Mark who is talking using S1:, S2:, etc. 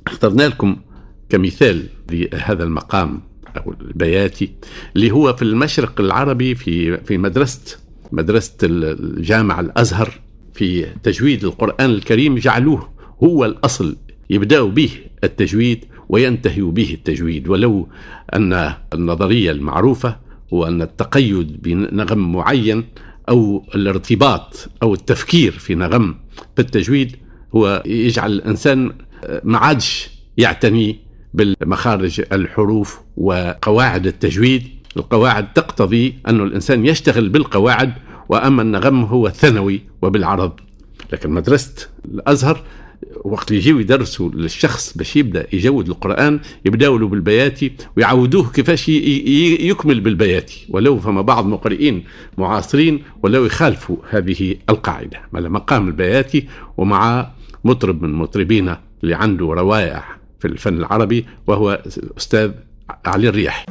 S1: اخترنا لكم كمثال لهذا المقام أو البياتي اللي هو في المشرق العربي في مدرسة الجامع الأزهر في تجويد القرآن الكريم، جعلوه هو الأصل، يبدأوا به التجويد وينتهي به التجويد. ولو أن النظرية المعروفة هو أن التقيد بنغم معين أو الارتباط أو التفكير في نغم في التجويد هو يجعل الإنسان ما عادش يعتني بالمخارج الحروف وقواعد التجويد. القواعد تقتضي أن الإنسان يشتغل بالقواعد، وأما النغم هو الثانوي وبالعرض. لكن مدرسة الأزهر وقت اللي يجيو يدرسوا للشخص باش يبدأ يجود القرآن يبداوا له بالبياتي ويعودوه كيفاش يكمل بالبياتي، ولو فما بعض مقرئين معاصرين ولو يخالفوا هذه القاعدة. مقام البياتي ومع مطرب من مطربينا اللي عنده روائع في الفن العربي وهو الأستاذ علي الرياحي.